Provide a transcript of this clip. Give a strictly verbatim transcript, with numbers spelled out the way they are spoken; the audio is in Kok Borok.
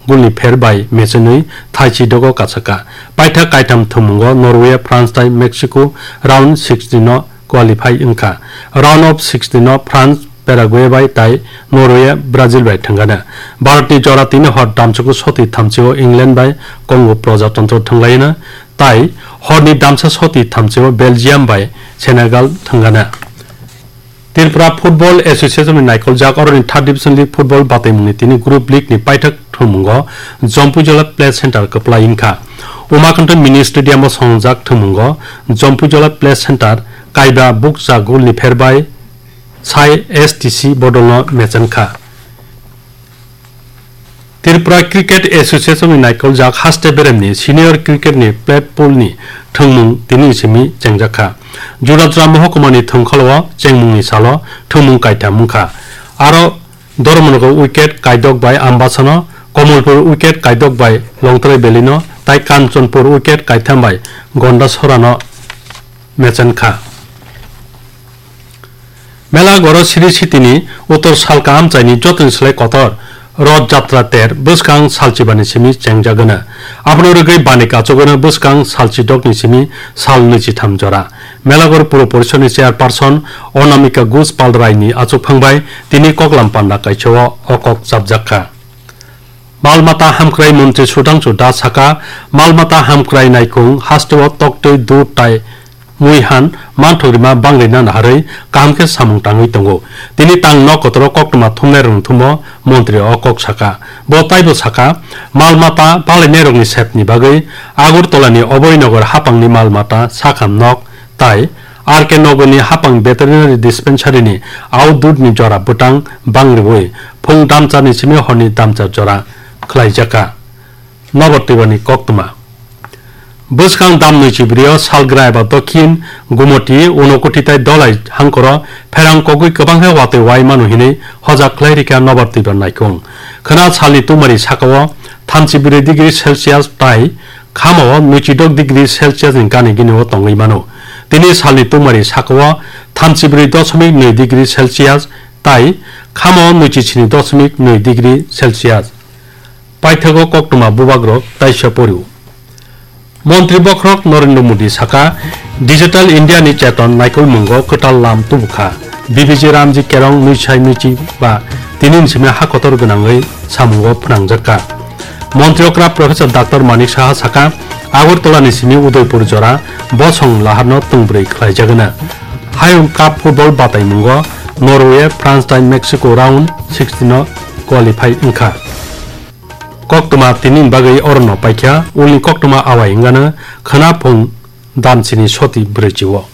Goal ni pher bai mechenwi thaichi dogo kasaka. Paithak kaitham thwngmungo Norway, France tei Mexico round sixteen no qualify wngkha. Round of sixteen no France, Paraguay bai tei Norway, Brazil bai thwngana. Bharat ni jora tini hor damchuku soti thamchi o England bai Congo Projatantro thwnglaina, tei hor ni damsa soti thamchi o Belgium bai Senegal thwngana. Tripura Football Association ni naikoljak oroni third division league football bataimungni tini group league ni paithak thwngmungo Jompuijola Play Center kwplai wngkha. Umakanto Mini Stadium o songjak thwngmungo Jompuijola Play Center kaiba bukcha goal ni pher bai sai S T C bodolno mechenkha. Tripura Cricket Association ni naikoljak haste beremni senior cricket ni plat pool ni thwngmung tini simi chengjakha. Jura jura mohokuma ni thwngkholo o chengmung ni salo thwngmung kaitham wngkha. Aro Dharmanagar wicket kaidok bai Ambasano, Kamalpur wicket kaidok bai Longtrai Valley no, tai Kanchanpur wicket kaitham bai Gondasora no mechenkha. Melagoro Sri Sitini Uttor Salka amchaini jotoni slai kotor Roth Jatra ter bwskang salchibani simi chengjagwna. Abono rwgwi bani kachogwno bwskang salchidokni simi sal nwichitham jora. Melagor Puro Porishoni Chairperson Onamika Ghosh Palraini achukphang bai tini koklam panda kaisao o kok chapjakha. Malmata hamkrai montri Sudhangshu Das saka, malmata hamkrai naikung hasteo toktwi dud tai muihan manthok rima bangri nana harwi kaham khe samung tangwi tongo. Tini tang nok kotoro koktwma thumnairokni thumo montri o kok saka. Bo taibo saka, malmata palainairokni sepni bagwi Agartala ni Abhay Nagar hapangni malmata sakham nok tai R K Nagarni hapang veterinary dispensary ni outdoor ni jora bwtang bangriwi phung damcharni simi horni damchar jora khlaijakha. Nobar twibani koktwma. Bwskang dam nwichibrio Salgrai ba Dokhin, Gumoti, Unokoti tai Dolai hangkoro pherang kogwi kwbang khe watwi wai mano hinwi hojak khlai rikha nobar twibar naikung. Khwna salni tumari sakao thamchi bwrwi degree Celsius tai khamao nwichidok degree Celsius ni gani gini o tongwi mano. Tini salni tumari sakao thamchi bwrwi dosmik nwi degree Celsius tai khamao nwichi sini dosmik nwi degree Celsius. Paithago koktwma bubagrok taisa porio. Montri bokhorok Narendra Modi saka, Digital India ni cheton naikolmungo kwtal lam tubukha. B B G Ramji Kerong nwisai nwichi ba tini ni simi ha kotor gwnangwi samungo phnangjakha. Montri okra Professor Doctor Manik Saha saka, Agartala ni simi Udaipur jora bosong laharno tungbrwi khlaijagwna. Hayung Cup football bataimungo Norway, France tai Mexico round sixteen no qualify wngkha. Koktwma tini ni bagwi orono paikha, ulni koktwma awai wngano khwna phung damsini soti brwichi o.